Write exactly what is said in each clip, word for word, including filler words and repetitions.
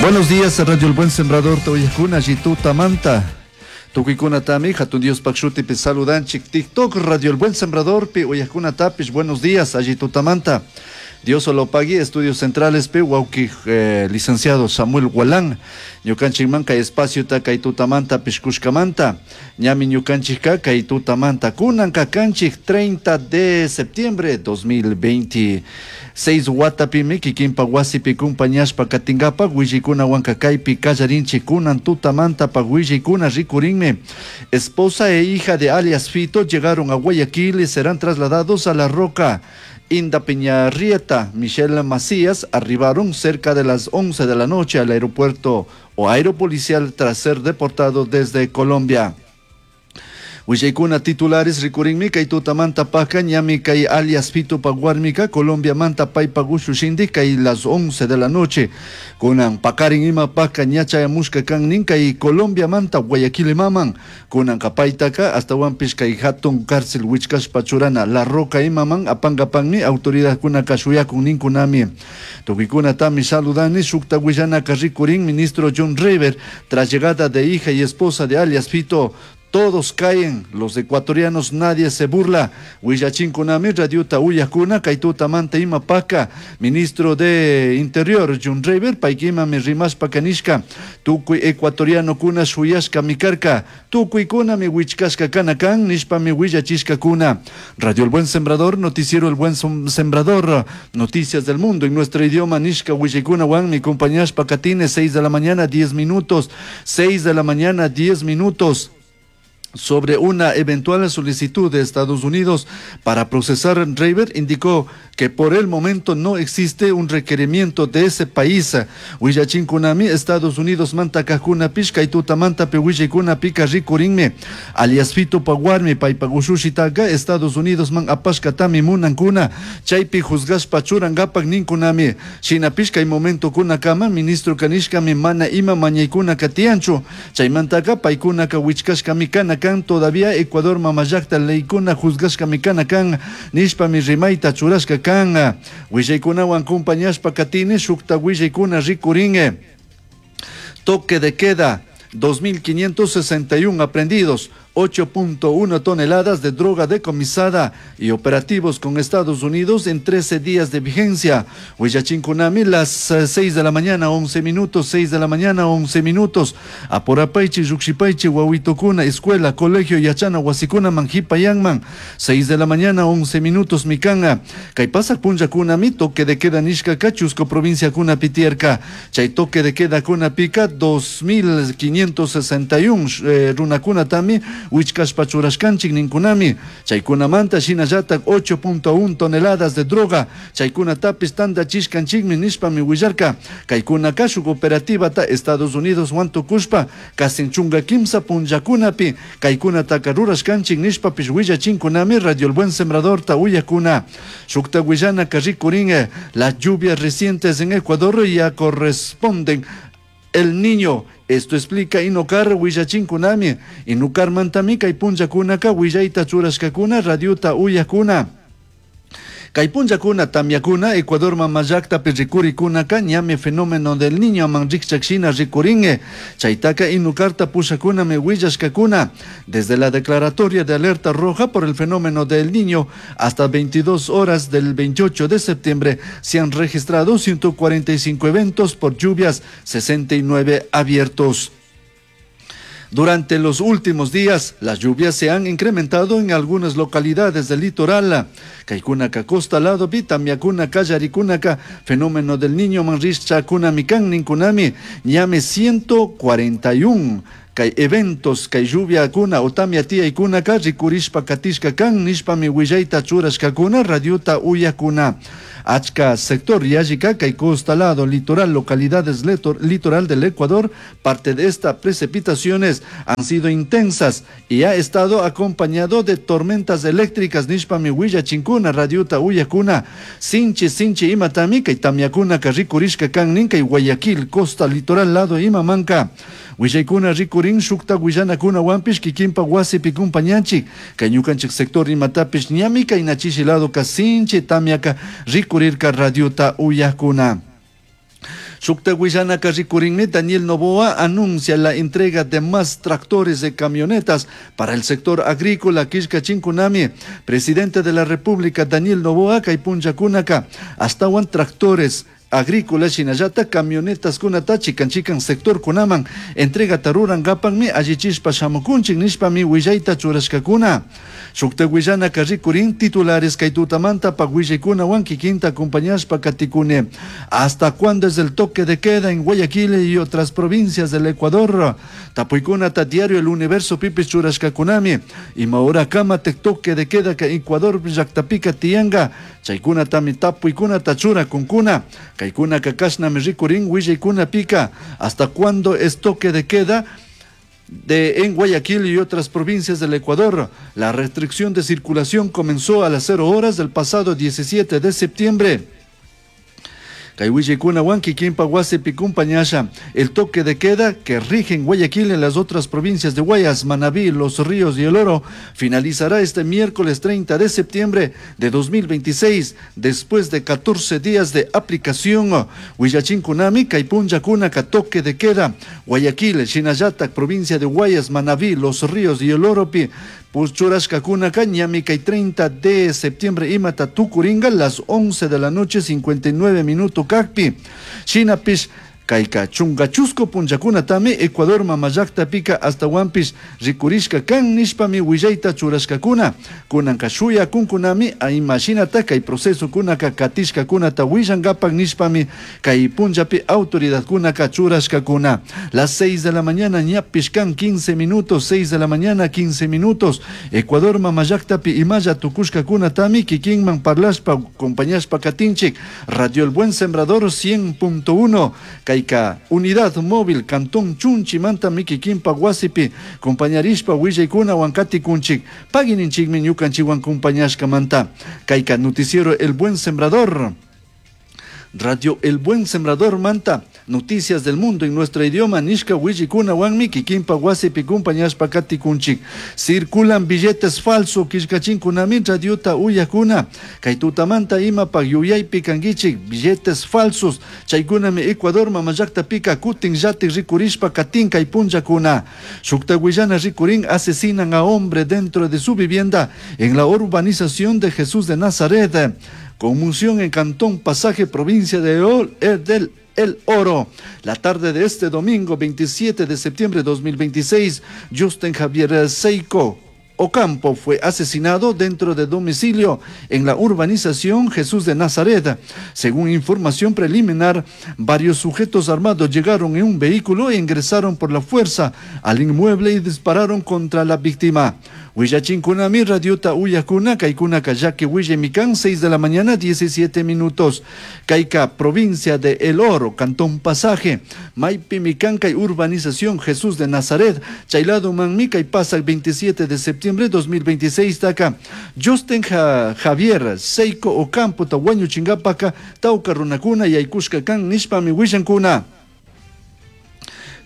Buenos días, Radio El Buen Sembrador, ta uyajcuna, tutamanta. Tucuicunatami, Jatun Diospaj shutipi saludanchik. TikTok, Radio El Buen Sembrador, pi uyajcunatapish, buenos días, alli tutamanta. Dios lo pague, Estudios Centrales, pi, huauqui, eh, licenciado Samuel Gualán, ñukanchikman kay espaciota kay tutamanta cushcamanta, ñami ñukanchikka kay tutamanta kunanka kanchik treinta de septiembre dos mil veintiséis watapimi kikinpa wasipi kumpañashpa katinkapak willaykunawanka kaypi kallarinchik kunan tutamanta pa rikurinmi. Esposa e hija de alias Fito llegaron a Guayaquil y serán trasladados a La Roca. Inda Peñarrieta, Michelle Macías arribaron cerca de las once de la noche al aeropuerto o aeropolicial tras ser deportado desde Colombia. Willaykuna titulares rikurinmi kay tutamanta paka ñami kay alias Fito pa warmika Colombia manta paypa ushushindi kay las once de la noche. Kunan pakarin ima paka ña chayamushka kan nin kay Colombia manta Guayaquil maman. Kunan kapaytaka hasta kay hatun cárcel wichkashpa churana La Roca imaman apankapanmi autoridadkunaka shuyakun ninkunami. Tukuykunatami saludani shukta willanaka rikurin ministro John River tras llegada de hija y esposa de alias Fito. Todos caen, los ecuatorianos, nadie se burla. Willachinkunami, radiota uyajkuna, kay tutamanta ima paka, ministro de Interior, John River, paykimami rimashpa nishka, tukuy ecuatoriano kuna shuyashka mikarka, tukuy kuna mi wichkashka kana kan, nishpami willachishkakuna. Radio El Buen Sembrador, noticiero El Buen Sembrador, noticias del mundo en nuestro idioma, nishka willaykunawan, mi compañashpa katine, seis de la mañana, diez minutos, seis de la mañana, diez minutos. Sobre una eventual solicitud de Estados Unidos para procesar River, indicó que por el momento no existe un requerimiento de ese país. Willachinkunami, Estados Unidos manta kajkunapish kay tutamantapi willaykunapika rikurinmi. Alias Fito pa warmi paypa ushushitaka Estados Unidos man apashkatami munankuna chaypi juzgashpa churankapak ninkunami. Shinapish kay momentokunakama ministro kanishkami mana ima mañaykunaka tiyanchu. Chaymantaka paykunaka wichkashkami kana kan todavía Ecuador mamallakta leykuna juzgashkami kana kan nishpami rimayta churashka kan. Willaykunawan kumpañashpa katini shukta willaykuna rikurin. Toque de queda, dos mil quinientos sesenta y uno aprehendidos, ocho punto uno toneladas de droga decomisada y operativos con Estados Unidos en trece días de vigencia. Willachinkunami, las seis de la mañana, once minutos, seis de la mañana, once minutos. Apurapaichi, llujshipaichi, wawitokuna, escuela, colegio, yachana wasikunaman jipayanman, seis de la mañana, once minutos, mi kan. Kay pasak punllakunami, toque de queda nishkaka chusku provinciakunapi tiyarka. Chay toque de queda kunapika, dos mil quinientos sesenta y uno eh, runakunatami wichkashpa churashkanchik ninkunami. Chaykunamanta shinallatak ocho punto uno toneladas de droga chaykunatapis tandachishkanchikmi nishpami willarka. Kaykunaka shuk operativata Estados Unidos wan tukushpa kasin chunka kimsa punllakunapi kaykunataka rurashkanchik nishpapish willachinkunami Radio El Buen Sembradorta uyajkuna. Shukta willanaka rikurin, las lluvias recientes en Ecuador ya corresponden El Niño. Esto explica Inokar willachinkunami. Inukarmantami kay punllakunaka willayta churashkakuna radiota uyajkuna. Kay punllakuna tamyakuna Ecuador mamallaktapi rikurikunaka ñami fenómeno del Niño man rikchak shina rikurin. Chaytaka Inukarta pushakunami willashkakuna. Desde la declaratoria de alerta roja por el fenómeno del Niño hasta veintidós horas del veintiocho de septiembre se han registrado ciento cuarenta y cinco eventos por lluvias, sesenta y nueve abiertos. Durante los últimos días, las lluvias se han incrementado en algunas localidades del litoral. Kaykunaka costa lado tamyakunaka kallarikunaka fenómeno del Niño man rikchakunami kan ninkunami ñami ciento cuarenta y uno kay eventos kay lluviakuna o tamya tiyaykunaka rikurishpa katishka kan nishpami willayta churashkakuna radiota uyajkuna. Achka sector yallika kay costa lado litoral, localidades litoral del Ecuador, parte de estas precipitaciones han sido intensas y ha estado acompañado de tormentas eléctricas nishpami willachinkuna radiota uyajkuna. Sinchi sinchi imatami kay tamyakunaka rikurishka kan nin kay Guayaquil costa litoral lado imamanka. Willaykuna rikurin shukta willanakunawanpish kikinpa wasipi kumpañanchik kay ñukanchik sector imatapish ñami kay nachishi lado ka sinchi tamyaka rikurirka radiota uyajkuna. Shukta willanaka rikurinmi. Daniel Noboa anuncia la entrega de más tractores de camionetas para el sector agrícola killkachinkunami. Presidente de la República Daniel Noboa kay punllakunaka ashtawan tractores agrícola shinallata camionetas kunata chikan chikan sector kunaman entrega rurankapakmi allichishpa shamukunchik nishpami willayta churashkakuna. Shukta willanaka rikurin titulares kay tutamantapak willaykunawan kikinta acompañashpa katikuni. ¿Hasta cuándo es el toque de queda en Guayaquil y otras provincias del Ecuador? Tapuykunata diario El Universo pipish churashkakunami. Ima horakama toque de queda ka Ecuador llaktapika tiyanka? Chaykunatami tapuykunata churakunkuna. Kaykunaka kashnami rikurin willaykunapika. ¿Hasta cuándo es toque de queda de en Guayaquil y otras provincias del Ecuador? La restricción de circulación comenzó a las cero horas del pasado diecisiete de septiembre. Kay willaykunawan kikinpa wasipi kumpañasha. El toque de queda que rige en Guayaquil y en las otras provincias de Guayas, Manabí, Los Ríos y El Oro finalizará este miércoles treinta de septiembre de dos mil veintiséis, después de catorce días de aplicación. Willachinkunami kay punllakunaka toque de queda Guayaquil, shinallatak, provincia de Guayas, Manabí, Los Ríos y El Oropi churashkakunaka ñami kay treinta de septiembre imata tukuringa las once de la noche cincuenta y nueve minutos kakpi. Shinapish kayka chunka chusku punllakunatami Ecuador mamallaktapika ashtawanpish rikurishka kan nishpami willayta churashkakuna. Kunanka shuyakunkunami imashinata kay procesokunaka katishkakunata willankapak nishpami kay punllapi autoridadkunaka churashkakuna. Las seis de la mañana ñapish kan quince minutos, seis de la mañana quince minutos. Ecuador mamallaktapi imalla tukushkakunatami kikinman parlashpa acompañashpa katinchik. Radio El Buen Sembrador cien punto uno. Kayka unidad móvil Cantón Chunchimanta kikinpa wasipi compañarishpa willaykunawan katikunchik. Pagui ninchikmi ñukanchikwan compañashkamanta. Kayka noticiero El Buen Sembrador. Radio El Buen Sembrador manta, noticias del mundo en nuestro idioma nishka willaykunawanmi kikinpa wasipi kumpañashpa katikunchik. Circulan billetes falsos killkachinkunami radiota uyakuna. Kay tutamanta imapak yuyaypi kankichik? Billetes falsos chaykunami Ecuador mamallaktapika kutin llatik rikurishpa katin kay punllakuna. Shukta willana rikurin. Asesinan a hombre dentro de su vivienda en la urbanización de Jesús de Nazaret. Conmoción en Cantón Pasaje, provincia de Ol, eh, del El Oro. La tarde de este domingo veintisiete de septiembre de dos mil veintiséis, Justin Javier Seiko Ocampo fue asesinado dentro de domicilio en la urbanización Jesús de Nazaret. Según información preliminar, varios sujetos armados llegaron en un vehículo e ingresaron por la fuerza al inmueble y dispararon contra la víctima. Willachinkunami radiota uyakuna kaykunaka llaki willaymi kan. seis de la mañana diecisiete minutos. Kayka provincia de El Oro, Cantón Pasaje, maypimi kan kay urbanización Jesús de Nazaret, chay ladomanmi kay pasak veintisiete de septiembre dos mil veintiséis taka Justin Javier Seiko Ocampo ta wañuchinkapaka tawka runakuna yaykushka kan nishpami willankuna.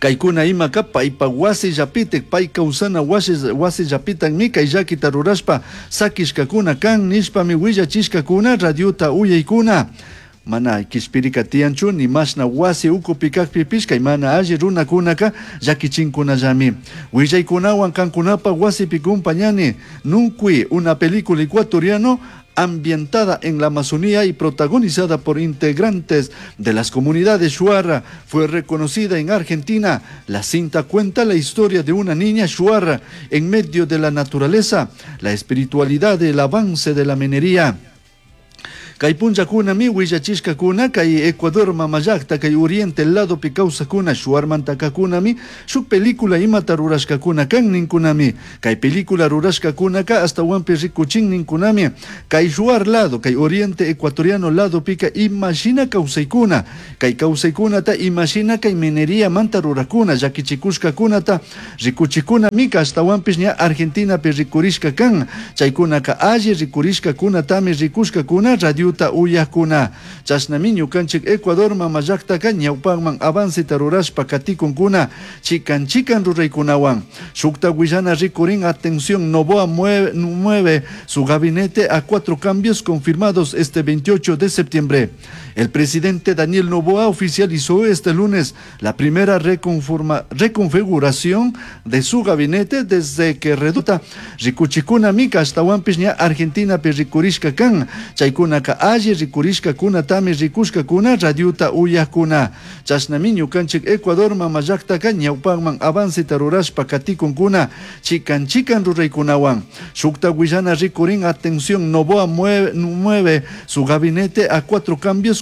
Kaykuna imaka paypa wasi llapitik, pay kawsana wasi wasi llapitakmi kay llakita rurashpa sakishkakuna kan nishpami willachishkakuna radiota uyaykuna. Mana kishpirika tiyanchu ni mashna wasi ukupi kakpipish kay mana alli runakunaka llakichinkunallami. Willaykunawan kankunapa wasipi kumpañani. Nunkui, una película ecuatoriano ambientada en la Amazonía y protagonizada por integrantes de las comunidades Shuar, fue reconocida en Argentina. La cinta cuenta la historia de una niña Shuar en medio de la naturaleza, la espiritualidad y el avance de la minería. Kay punllakunami willachishkakuna kay Ecuador mamallakta kay Oriente ladopi kawsakuna Shuarmantakakunami shuk película imata rurashkakuna kan ninkunami. Kay película rurashkakunaka ashtawanpish rikuchin ninkunami kay Shuar lado, kay Oriente ecuatoriano ladopika imashina kawsaykuna, kay kawsaykunata imashina kay minería manta rurakuna llakichikushkakunata rikuchikunamika ashtawanpish ña Argentinapi rikurishka kan. Chaykunaka alli rikurishkakunatami rikushkakuna radio. radiota uyajcuna. Chashnami ñucanchij Ecuador mama llajtaca ñaupajman avanceta rurashpa caticuncuna chican chican ruraicunahuan. Shujta huillana ricurin atención Noboa mueve, mueve su gabinete a cuatro cambios confirmados este veintiocho de septiembre. El presidente Daniel Noboa oficializó este lunes la primera reconforma, reconfiguración de su gabinete desde que reduta ricuchicuna mica ashtahuanpish ña Argentinapi ricurishca can. Chaicunaka alli ricurishcacunatami ricushcacuna radiota uyajcuna. Chashnami ñucanchij Ecuador mama llajtaca ñaupajman avanceta rurashpa caticuncuna chican chican ruraicunahuan. Shujta huillana ricurin atención Noboa mueve, mueve su gabinete a cuatro cambios